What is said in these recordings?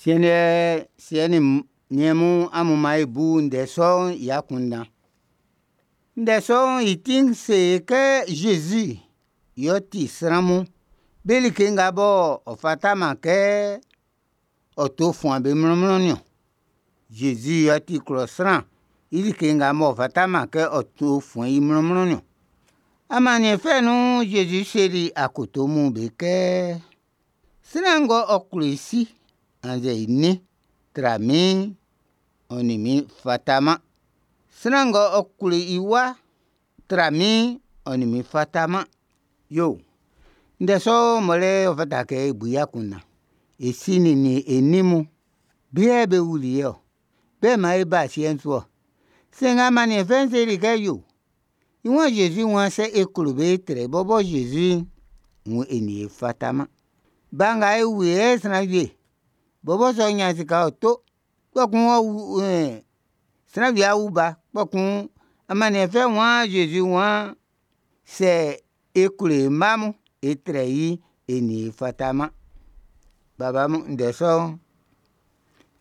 Siɛn'n siɛ nin niɛn mun, amun maan e bu ndɛ sɔ'n i akunndan. Ndɛ sɔ'n i ti'n se e kɛ Zezi yɛ ɔ ti sran mun be like nga bɔ ɔ fataman kɛ ɔ to fuan be mlɔnmlɔn'n niɔn. Zezi yɛ ɔ ti klɔ sran i like nga m'ɔ fataman kɛ ɔ to fuɛn i mlɔnmlɔn'n niɔn. Amanniɛn fɛ nun'n, Zezi seli akoto mun be kɛ: Sran ng'ɔ klo i si annzɛ i nin tra min'n, ɔ nin min fataman. Sran ng'ɔ klo i wa tra min'n, ɔ nin min fataman. Yo, ndɛ sɔ'n mɔ lɛ ɔ fata kɛ e bu i akunndan. E si nin e nin mun, be yɛ be wuli e ɔ, be yɛ maan e ba asiɛ'n su ɔ. Sanngɛ amanniɛn fɛ'n seli kɛ yo, i waan Zezi waan sɛ e klo be trɛ i bɔbɔ Zezi'n, wuun e nin i fataman. Ba nga e wu i sran wie bɔbɔ sɛ ɔ ɲan sika ɔ to, kpɔkun ɔ wu sran wie a wu ba, kpɔkun amanniɛn fɛ'n waan Zezi waan sɛ e klo e mma mun e trɛ i'n, e nin i fataman. Baba mun, ndɛ sɔ'n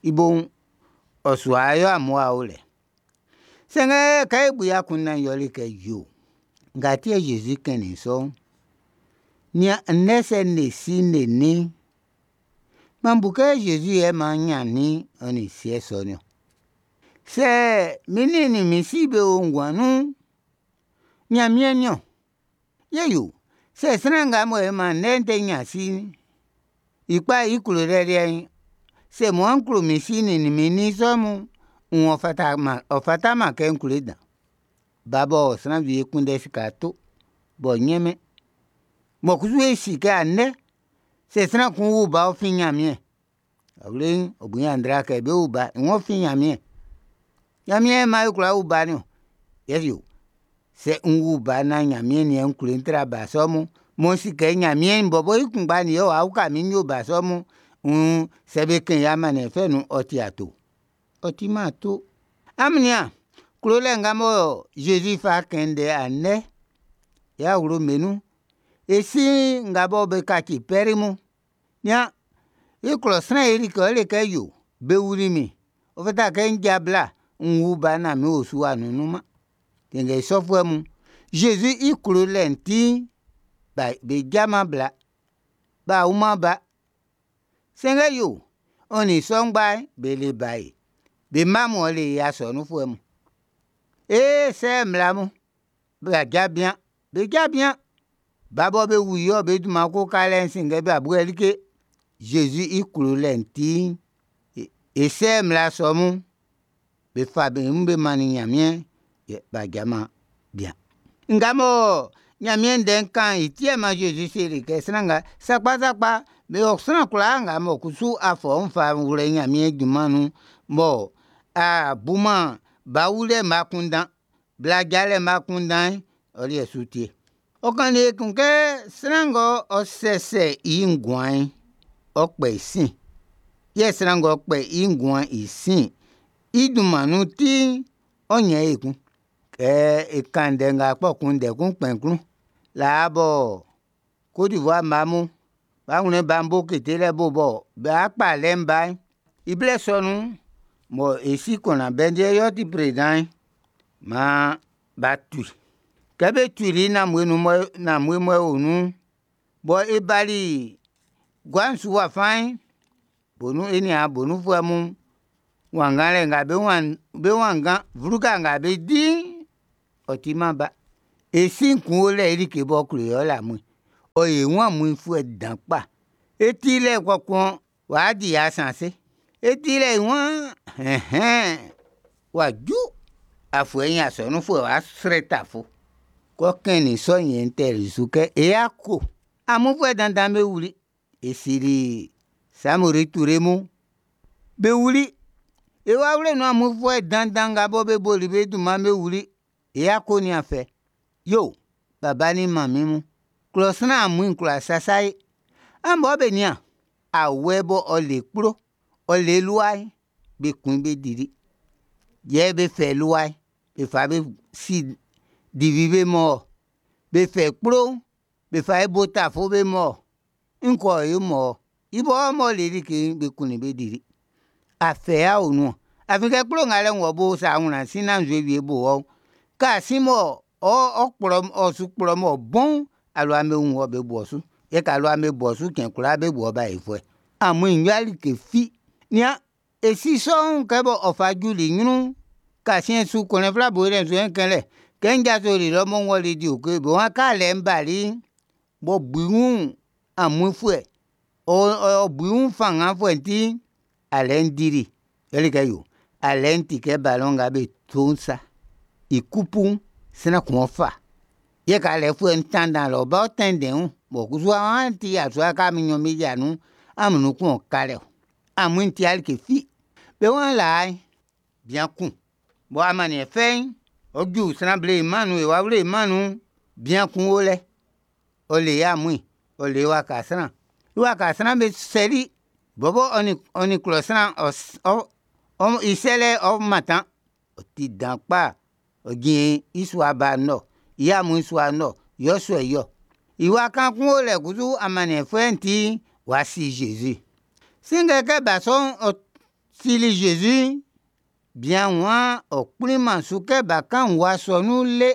i bo'n, ɔ su wa yo amun ya o le. Sanngɛ kɛ e bu i akunndan'n yɛle kɛ yo, nga ti yɛ Zezi kɛnnin i sɔ'n, nian ndɛ sɛ n le si n le nin'n, m'an bu kɛ Zezi yɛ maan n ɲannin ɔ nin siɛ sɔ'n niɔn. Sɛ min nin nin min si be o nguan nun'n, Ɲanmiɛn'n niɔn. Yɛ yo, sɛ sran nga mɔ e man ndɛ te ɲan si'n, i kpa i klolɛ liɛ'n, sɛ mɔ n klo min si nin min nin sɔ mun'n, wuun ɔ fataman kɛ n klo i dan. Ba bɔ sran wie kunndɛ sika to, b'ɔ ɲɛnmɛn, mɔ kusu e si kɛ andɛ, sɛ sran kun wu ba'n ɔ fin Ɲanmiɛn. Awie'n ɔ bu ɲanndra kɛ be wu ba'n, ɔ fin Ɲanmiɛn. Ɲanmiɛn yɛ maan e kwla wu ba'n niɔn. Yɛ yo, sɛ n wu ba naan Ɲanmiɛn yɛ n klo i tra ba sɔ mun'n, mɔ n si kɛ Ɲanmiɛn bɔbɔ i kunngba'n yɛ w'a uka min n yo ba sɔ mun'n, wuun sɛ be kɛn i amanniɛn fɛ nun'n, ɔ ti ato? Ɔ timan ato. Amun nian, klolɛ nga mɔ Zezi fa kɛn ndɛ andɛ, e awlo'm be nun'n, e si nga bɔ be kaci pɛr mun, nian, e klɔ sran e like ɔ le kɛ yo, be wuli min, ɔ fata kɛ n ja bla, n wu ba naan min osu w'a nunnunman. Sanngɛ i sɔfuɛ mun, Zezi i klolɛ'n ti'n, be jaman bla, b'a wuman ba. Sanngɛ yo, ɔ nin i sɔ ngba'n, be le bae. Be mma mun yɛle e asɔnunfuɛ mun. E sɛ mmla mun, b'a ja bian, be ja bian. Ba bɔ be wu i ɔ, be dunman ko ka lɛ'n, sanngɛ b'a buɛ like. Zezi i klolɛ'n ti'n, e sɛ mmla sɔ mun, be fa be wun be mannin Ɲanmiɛn, yɛ b'a jaman bian. Nga mɔ Ɲanmiɛn Ndɛ'n kan'n, i ti yɛ maan Zezi seli kɛ sran nga, sakpa sakpa, be sran kwlaa nga mɔ kusu a fa ɔ wun fa wlɛ i Ɲanmiɛn junman nun'n, mɔ a buman ba wulɛ'n i akunndan, bla jalɛ'n i akunndan'n, ɔ liɛ su ti ye. Ɔ kannin ekun kɛ sran ng'ɔ sɛsɛ i nguan'n, ɔ kpɛ i sin. Yɛ sran ng'ɔ kpɛ i nguan'n i sin i dunman nun ti'n, ɔ ɲɛn i ekun. Kɛ e kan ndɛ nga kpɔkun ndɛ kun kpɛn n klun. Laa bɔ Côte d'Ivoire mma mun, b'a wunnin bambo ketelɛ bo bɔ b'a kpa alɛ'n ba'n, i blɛ sɔ nun'n, mɔ e si Konan Bɛndie y'ɔ ti président'n, maan b'a tu i. Kɛ be tuli i nanmue nun mɔ nanmue mɔ e o nun'n, bɔ e bali gua'n su wa fa'n, bonu e niaan bonufuɛ mun, wannganlɛ nga be wanngan, vluka nga be di'n, ɔ timan ba. E sin kun o lɛ i like b'ɔ klo i'n yɛle amuin. Ɔ le wun amuinfuɛ dan kpa. E ti lɛ kpɔkun w'a di ya sanse. E ti lɛ i waan ɛnhɛn, w'a ju afuɛ nɲɛ asɔnunfuɛ w'a srɛ tafo. Kɛ ɔ kɛnnin i sɔ'n yɛ n tɛli su kɛ e yako. Amuinfuɛ dandan'm be wuli. E sili Samori Ture mun, be wuli. E wawle nun amuinfuɛ dandan nga bɔ be boli be dunman'n be wuli. E yako nin afɛ. Yo, baba nin manmin mun, klɔ sran amuin'n kwla sasa e. An bɔbɔ be nian, awɛ bɔ ɔ le kplo, ɔ le lua'n, be kun be dili. Yɛ be fɛ lua'n, be fa be si divi be man wɔ. Be fɛ kplo'n, be fa bo tafo be man wɔ. Nn kɛ ɔ yo man wɔ. I bɔbɔ m'ɔ le like'n, be kunnin be dili. Afɛ ya o nun. Afin kɛ kplo ngalɛ'n wɔ bo sa a wlan sin naan nzue wie bo wɔ'n, kɛ a sín mɔ ɔ su kplɔ m'ɔ bɔn'n, alua'm be wun wɔ, be bo ɔ su. Yɛ kɛ alua'm be bo ɔ su cɛn kwlaa be bu wɔ baefuɛ. Amuin'n yo'a like fi. Nian, e si sɔ'n kɛ bɔ ɔ fa juli ɲrun'n, kasiɛn su kɔnlɛ fla bo lɛ nzuɛn kɛnlɛ. Kɛ n jasoli lɔ mɔ n wɔli di oke, be waan kɛ alɛ'n bali'n, b'ɔ bu i wun amuinfuɛ, ɔ bu i wun fannganfuɛ'n ti'n, alɛ'n dili i. Yɛle kɛ yo, alɛ'n ti kɛ balɔn nga be to'n sa. I kupu'n, sran kun ɔ fa. Yɛ kɛ alɛfuɛ'n tanndan lɔ ba, ɔ tɛnndɛn i wun. Bɔn kusu an ti yasua kɛ amun nɲɔn'n be yia nun'n, amun nun kun ɔ́ ká lɛ. Amuin'n ti'a like fi. Be waan laa'n, bian kun mɔ amanniɛn fɛ'n, ɔ ju sran ble mɛn'n nun, wawle mɛn'n nun'n, bian kun o lɛ, ɔ le i amuin, ɔ le i waka sran. I waka sran'm be sɛli i. Bɔbɔ ɔ nin klɔ sran i sɛlɛ'n ɔ mantan. Ɔ ti dan kpa. Ɔ jin i sua ba'n nun lɔ, i amuin sua'n nun lɔ, yɛ ɔ sɔ i ɔ. I wa kaan kun o lɛ kusu amanniɛn fɛ'n ti'n, w'a si Zezi. Sanngɛ kɛ ba sɔ'n ɔ sili Zezi'n, bian'n waan ɔ kplinman su kɛ bakan'n wɔ asɔnun le.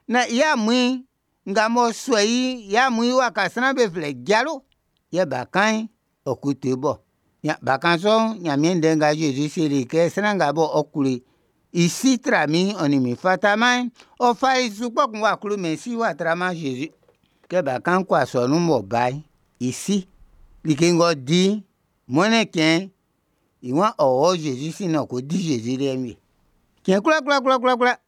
Naan i amuin nga m'ɔ sɔ i'n, i amuin i waka sran'n be flɛ i jalo. Yɛ bakan'n, ɔ koto i bo. Bakan sɔ'n, Ɲanmiɛn ndɛ nga Zezi seli kɛ sran nga bɔ ɔ klo i si tra min'n, ɔ nin min fataman'n, ɔ fali su kpɔkun w'a klomɛn i si w'a traman Zezi. Kɛ bakan'n kɔ asɔnun m'ɔ ba'n, i si, like ng'ɔ di'n, mɔnnɛn cɛn'n, i waan ɔ wɔ Zezi sin naan ɔ ko di Zezi liɛ'n wie. Cɛn kwlaa kwlaa kwlaa kwlaa kwlaa.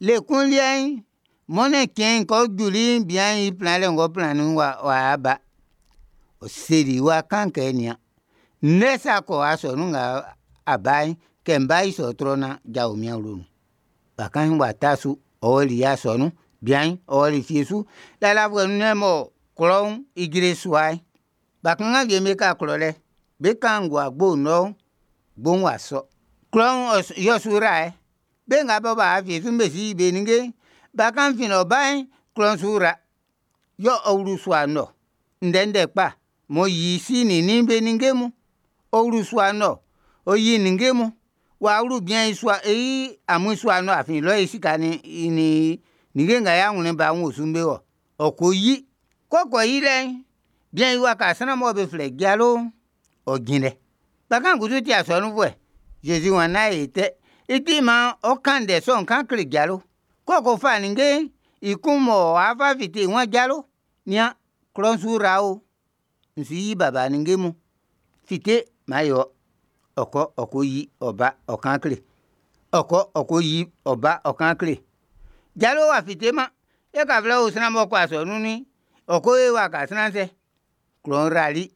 Le kun liɛ'n, mɔnnɛn cɛn'n kɛ ɔ juli'n, bian'n i planlɛ ng'ɔ plannin'n w'a ba. Ɔ seli i wa kan'n kɛ nian, ndɛ sa kɔ asɔnun nga a ba'n, kɛ m ba i sɔ trɔ naan jao min awlo nun. Bakan'n w'a ta su, ɔ ɔli asɔnun, bian'n ɔ ɔli fie su. Lalafuɛ nun'n mɔ klɔ'n ijre sua'n, bakanngan wie'm be ka klɔ lɛ. Be kan ngowa gbo'n lɔ'n, gbo'n w'a sɔ. Klɔ'n yɛ ɔ su yra yɛ. Be nga bɔ b'a ɔ fie su'n be su yi be ninnge'n. Bakan'n fin lɔ ba'n, klɔ'n su ra. Yɛ ɔ wlu sua'n nun lɔ ndɛndɛ kpa m'ɔ yi i si nin i nin be ninnge mun. Ɔ wlu sua'n nun lɔ, ɔ yi ninnge mun. W'a wlu bian'n i sua i amuin sua'n nun afin lɔ yɛ i sika nin i ninnge nga i awlɛn ba'n wo su'n be o. Ɔ ko yi. Kɛ ɔ ko yi lɛ'n, bian'n i waka sran mɔ be flɛ i jalo'n, ɔ jin lɛ. Bakan'n kusu ti asɔnunfuɛ. Zezi waan nán e yo tɛ. I ti maan ɔ kan ndɛ sɔ'n kan kle jalo. Kɛ ɔ ko fa ninnge'n, i kun mɔ w'a fa fite'n, i waan jalo, nian, klɔ'n su ra o. N su yi baba ninnge mun. Fite, maan e wɔ. Ɔ kɔ, ɔ ko yi, ɔ ba, ɔ kan kle. Ɔ kɔ, ɔ ko yi, ɔ ba, ɔ kan kle. Jalo w'a fiteman. Yɛ kaflɛ o sran m'ɔ kɔ asɔnun'n, ɔ ko yo i waka sran'n sɛ. Klɔ'n rali,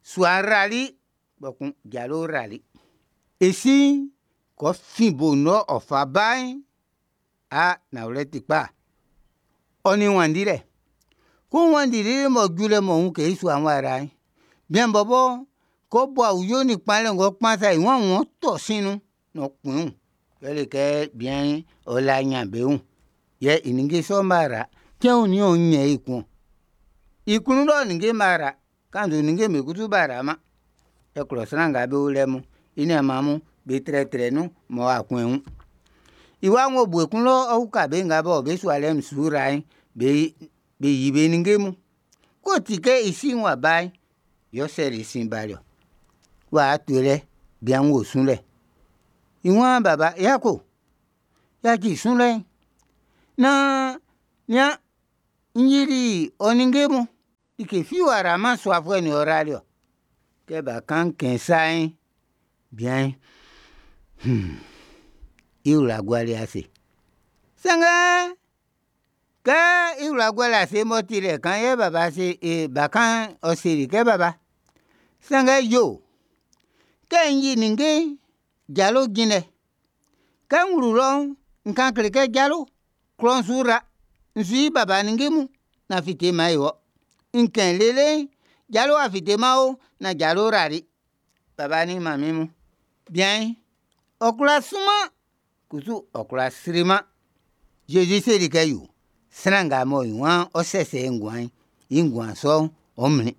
sua'n rali, kpɔkun jalo'n rali. I sin'n, kɛ ɔ fin bo'n lɔ ɔ fa ba'n, a nanwlɛ ti kpa, ɔ nin wanndilɛ. Kɛ ɔ wanndi lele m'ɔ ju lɛ m'ɔ wun kɛ i sua'n w'a ra'n, bian'n bɔbɔ, kɛ ɔ bo awuyo nin kpanlɛ ng'ɔ kpan sa'n, i waan ɔ́ tɔ́ sin nun naan ɔ́ kún i wun. Yɛle kɛ bian'n, ɔ le aɲanbeun, yɛ i ninnge sɔ'm b'a ra. Cɛn onin yɛ ɔ́ ɲɛ́n i ekun ɔn? I klun lɔ ninnge'm b'a ra, kannzu ninnge'm be kusu b'a raman. Yɛ klɔ sran nga be o lɛ mun, i nianman mun, be trɛtrɛ nun mɔ w'a kun i wun. I waan ng'ɔ bu ekun lɔ ɔ uka be nga bɔ be sua liɛ'n su ra'n, be yi be ninnge mun. K'ɔ ti kɛ i si'n w'a ba'n, yɛ ɔ sɛli i sin bali ɔ. W'a to i lɛ, bian'n wo sunlɛ. I waan baba, yako, yaci sunlɛ'n. Naan nian, n yili ɔ ninnge mun. Like fi w'a raman suafuɛ'n yɛ ɔ rali ɔ. Kɛ bakan'n kɛn sa'n, bian'n, i wla guali ase. Sanngɛ, kɛ i wla guali ase m'ɔ ti lɛ kan'n, yɛ baba se e bakan'n ɔ seli kɛ baba, sanngɛ yo, kɛ n yi ninnge'n, jalo jin lɛ. Kɛ n wlu lɔ'n, n kan kle kɛ jalo, klɔ'n su ra. N su yi baba ninnge mun, naan fite maan e wɔ. N kɛn lele'n, jalo w'a fiteman o, naan jalo rali. Baba nin manmin mun, bian'n, ɔ kwlá sunman, kusu ɔ kwlá sriman. Zezi seli kɛ yo, sran nga mɔ i waan ɔ́ sɛ́sɛ́ i nguan'n, i nguan sɔ'n, ɔ́ mlín.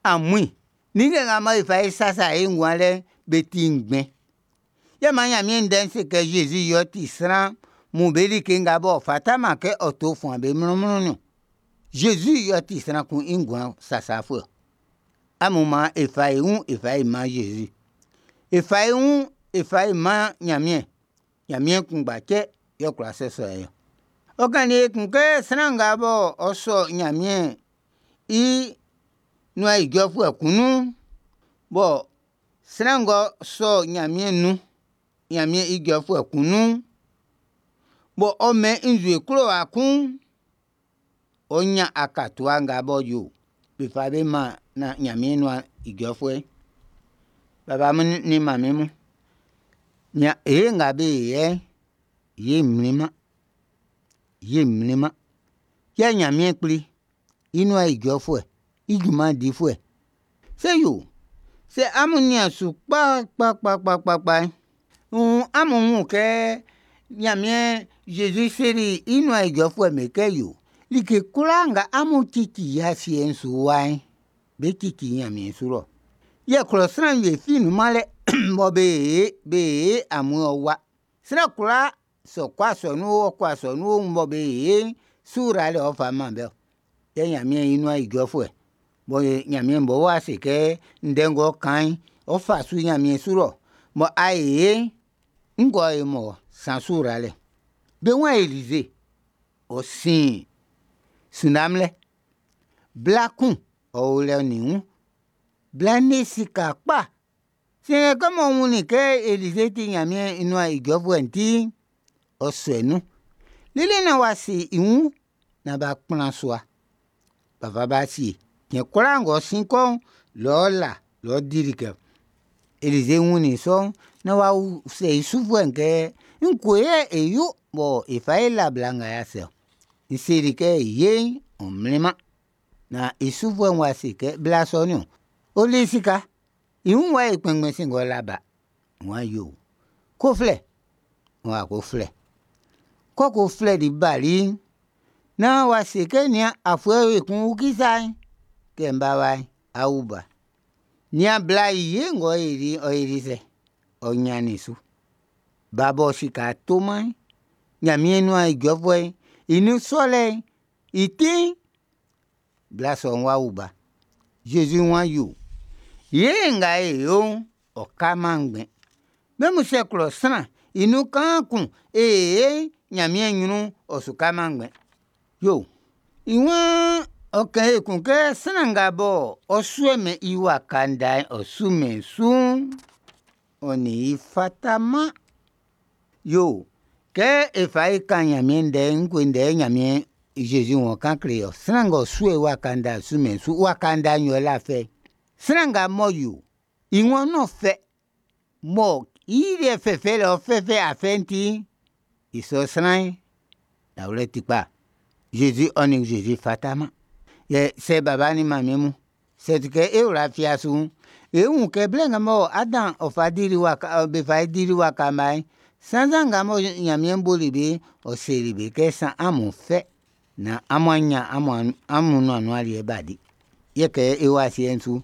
Amuin. Ninnge nga mɔ e fa e sasa e nguan lɛ'n, be ti ngbɛn. Yɛ maan Ɲanmiɛn Ndɛ'n se kɛ Zezi yɛ ɔ ti sran mun be like nga b'ɔ fataman kɛ ɔ to fuan be mlɔnmlɔn'n niɔn. Zezi yɛ ɔ ti sran kun i nguan sasafuɛ ɔ. Amun maan e fa e wun e fa e man Zezi. E fa e wun e fa e man Ɲanmiɛn. Ɲanmiɛn kunngba cɛ yɛ ɔ kwla sasa e ɔ. Ɔ kannin ekun kɛ sran nga bɔ ɔ sɔ Ɲanmiɛn i nuan ijɔfuɛ kun nun'n, bɔ sran ng'ɔ sɔ Ɲanmiɛn nun, Ɲanmiɛn ijɔfuɛ kun nun'n, bɔ ɔ mɛn i nzue klowa kun'n, ɔ ɲan akatua nga b'ɔ yo be fa be man Ɲanmiɛn nuan ijɔfuɛ'n. Baba mun nin manmin mun, ye nga be yɛ'n, ye mlinman, ye mlinman. Yɛ Ɲanmiɛn Kpli i nuan ijɔfuɛ, i junman difuɛ. Sɛ yo, sɛ amun nian su kpa kpa kpa kpa kpa kpa'n, wuun amun wun kɛ Ɲanmiɛn Zezi seli i nuan ijɔfuɛ'm be kɛ yo, like kwlaa nga amun cici i asiɛ'n su wa'n, be cici Ɲanmiɛn su lɔ. Yɛ klɔ sran wie fi nunman lɛ mɔ be ye amun ɔ wa. Sran kwlaa sɛ ɔ kɔ asɔnun o, ɔ kɔ asɔnun o, mɔ be ye'n su yralɛ ɔ fa man be ɔ. Yɛ Ɲanmiɛn i nuan ijɔfuɛ, bɔ Ɲanmiɛn bɔbɔ w'a se kɛ ndɛ ng'ɔ kan'n, ɔ fa su Ɲanmiɛn su lɔ, mɔ a ye'n, ngue yɛ mɔ san su yralɛ. Be waan Elize, ɔ sin Sinam lɛ. Bla kun, ɔ o lɛ ɔ nin i wun. Bla'n le sika kpa. Sanngɛ kɛ m'ɔ wunnin kɛ Elize ti Ɲanmiɛn i nuan ijɔfuɛ'n ti'n, ɔ sɔli nun. Lele naan w'a se i wun naan b'a kplan sua, b'a fa b'a sie. Cɛn kwlaa ng'ɔ sin kɔ'n, lɔ ɔ la, lɔ ɔ di like. Elize wunnin i sɔ'n, naan w'a usɛ i sufuɛ'n kɛ? Ngue yɛ e yo mɔ e fa e la bla nga i ase ɔ? N seli kɛ ye'n, ɔ mlinman. Naan i sufuɛ'n w'a se kɛ, bla sɔ'n niɔn, ɔ le sika. I wun w'a yo kpɛnngbɛn sanngɛ ɔ le ba. N wan yo, ko flɛ. N w'a ko flɛ. Kɛ ɔ ko flɛli bali'n, naan w'a se kɛ nian afuɛ wie kun ukisa'n, kɛ n bá wa'n, á wú ba. Nian bla i ye ng'ɔ yoli'n, ɔ yoli sɛ? Ɔ ɲannin su. Ba bɔ sika toman'n, Ɲanmiɛn nuan ijɔfuɛ'n i nun sɔlɛ'n i ti'n, bla sɔ'n w'a wu ba. Zezi wan yo, ye nga e yo'n, ɔ kaman ngbɛn. Mɛnmu sɛ klɔ sran i nun kaan kun e ye'n Ɲanmiɛn ɲrun'n, ɔ su kaman ngbɛn. Yo, i waan ɔ kɛn ekun kɛ sran nga bɔ ɔ suɛmɛn i waka nda'n ɔ sumɛn su'n, ɔ nin i fataman. Yo, kɛ e fa e kan Ɲanmiɛn ndɛ'n, ngue ndɛ yɛ Ɲanmiɛn Zezi wɔ kan kle ɔ? Sran ng'ɔ suɛ i waka nda'n sumɛn su, waka nda'n yɛ ɔ la fɛ. Sran nga m'ɔ yo, i waan ɔ fɛ, mɔ i liɛ fɛfɛ lɛ ɔ fɛfɛ afɛ'n ti'n, i sɔ sran'n, nanwlɛ ti kpa. Zezi ɔ nin Zezi fataman. Yɛ sɛ baba nin manmin mun, sɛ ti kɛ e wla fia su'n, e wun kɛ blɛ nga mɔ Adan ɔ fa dili waka, be fa dili waka mma'n, sannzan nga mɔ Ɲanmiɛn boli be'n, ɔ seli be kɛ san amun fɛ naan amun a ɲan amun nuan nun aliɛ b'a di. Yɛ kɛ e o asiɛ'n su,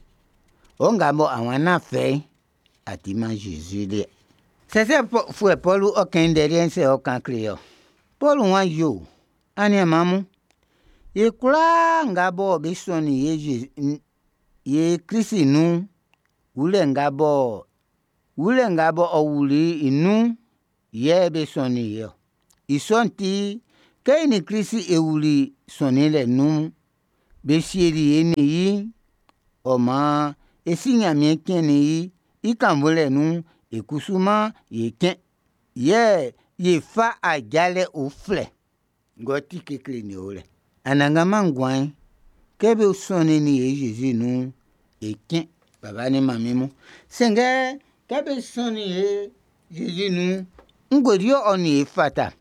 ɔ nga mɔ awa nán fɛ'n, a timan Zezi liɛ. Sɛsɛfuɛ Pɔlu ɔ kɛn i ndɛ liɛ'n sɛ ɔ kan kle ɔ. Pɔlu wan yo, aniaan mun, ye kwlaa nga bɔ be sɔnnin ye Zezi, ye Klisi nun'n, wulɛ nga bɔ wulɛ nga bɔ ɔ wuli i nun'n, yɛ be sɔnnin ye ɔ. I sɔ'n ti, kɛ e nin Klisi e wuli sɔnninlɛ nun'n, be sieli e nin i, ɔ maan e si Ɲanmiɛn cɛnnin i i kannvunlɛ nun'n, e kusu maan e cɛn. Yɛ ye fa ajalɛ uflɛ ng'ɔ ti kekle nin o lɛ. Anannganman nguan'n, kɛ be sɔnnin ye Zezi nun'n, e cɛn baba nin manmin mun. Sanngɛ kɛ be sɔnnin ye Zezi nun'n, ngue yɛ ɔ nin e fata?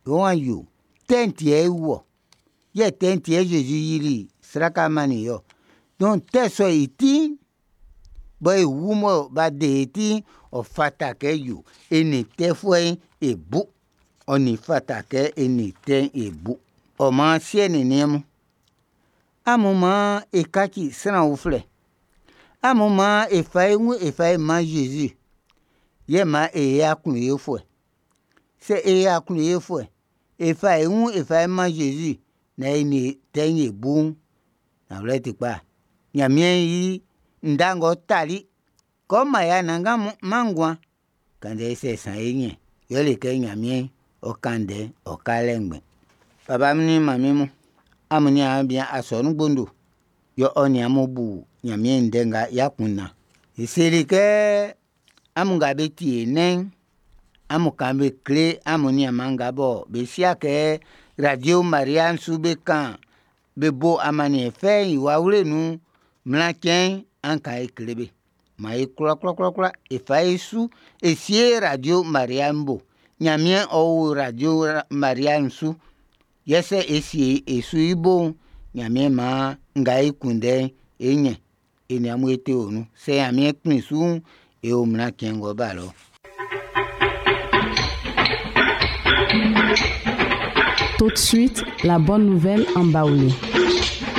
Wan yo, tɛ'n ti yɛ e wu ɔ. Yɛ tɛ'n ti yɛ Zezi yili sraka mannin ye ɔ. Donc tɛ sɔ'n i ti'n, bɔ e wu mɔ b'a de e ti'n, ɔ fata kɛ yo e nin tɛfuɛ'n e bu. Ɔ nin fata kɛ e nin tɛ'n e bu. Ɔ maan siɛ nin niɛn mun, amun maan e kaci sran uflɛ. Amun maan e fa e wun e fa e man Zezi, yɛ maan e yo aklunyefuɛ. Sɛ e yo aklunyefuɛ, e fa e wun e fa e man Zezi naan e nin e tɛ'n e bu'n, nanwlɛ ti kpa, Ɲanmiɛn i nda ng'ɔ tali kɛ ɔ́ mán ye anannganman nguan'n, kannzɛ e sɛ saan é ɲɛ́n i. Yɛle kɛ Ɲanmiɛn ɔ kan ndɛ'n, ɔ ka lɛ ngbɛn. Baba mun nin manmin mun, amun niaan bian asɔnun gbondo, yɛ ɔ nin amun bu Ɲanmiɛn ndɛ nga i akunndan. E seli kɛ amun nga be tie e nɛn'n, amun kan be kle amun nianman nga bɔ be si'a kɛ Radio Maria'n su be kan be bo amanniɛn fɛ'n i wawle nun mlacɛn'n, an kan e kle be. Man e kwlakwlakwlakwla e fa e su e sie Radio Maria'n bo. Ɲanmiɛn ɔ o Radio Maria'n su. Yɛ sɛ e sie e su i bo'n, Ɲanmiɛn maan nga e kunndɛ'n, e ɲɛn. E nin amun e te o nun. Sɛ Ɲanmiɛn kplin su'n, e o mlacɛn ng'ɔ ba lɔ. Tout de suite, la bonne nouvelle en Baoulé.